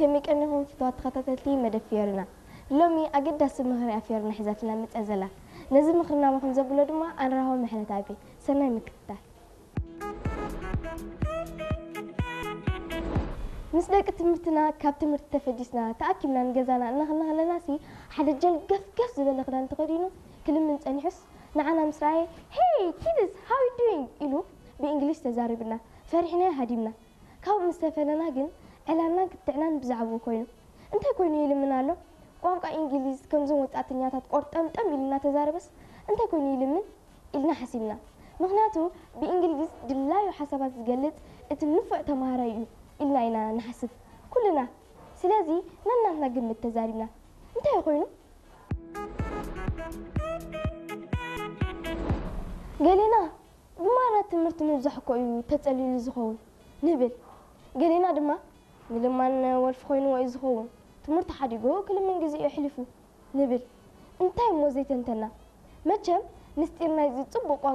ከመይ ቀኒኹም ፍቱዋት ተኸታተልቲ መደብ ፊዮሪና? ሎሚ ኣገዳሲ ምኽሪ እያ ፊዮሪና ሒዛትና መፂኣ ዘላ። ነዚ ምኽሪ ናባኹም ዘብሎ ድማ ኣንራሆ ምሕረት ኣቤ። ሰናይ ምክትታል። ምስ ደቂ ትምህርትና ካብ ትምህርቲ ተፈዲስና ተኣኪብና ንገዛና እናኸና ከለናሲ ሓደ ጀልገፍገፍ ዝበለ ክዳን ተኸዲኑ ክልምን ጸኒሑስ ንዓና ምስ ረኣየ "Hey kids, how you doing?" ኢሉ ብእንግሊሽ ተዛሪብና። ፈሪሕና ሃዲምና። ካብ ምስ ተፈለና ግን ዕላልናን ክትዕናን ብዛዕባኡ ኮይኑ። እንታይ ኮይኑ ይልምን ኣሎ? ቋንቋ እንግሊዝ ከምዞም ወጻእተኛታት ቆርጠምጠም ኢሉ እናተዛረበስ እንታይ ኮይኑ ይልምን ኢልና ሓሲብና። ምኽንያቱ ብእንግሊዝ ድላዩ ሓሳባት ዝገልጽ እቲ ንፉዕ ተማሃራይ እዩ ኢልና ኢና ንሓስብ ኩልና። ስለዚ ነናትና ግምት ተዛሪብና። እንታይ ኮይኑ? ገሌና ብማራ ትምህርቲ ምብዛሕ እኮ እዩ ተጸሊሉ ዝኸውን ንብል። ገሌና ድማ ምልማን ወልፊ ኮይንዎ እዩ ዝኸውን፣ ትምህርቲ ሓዲጉ ክልምን ግዜኡ ኣሕሊፉ ንብል። እንታይ እሞ ዘይተንተና? መቸም ምስጢር ናይዚ ጽቡቕ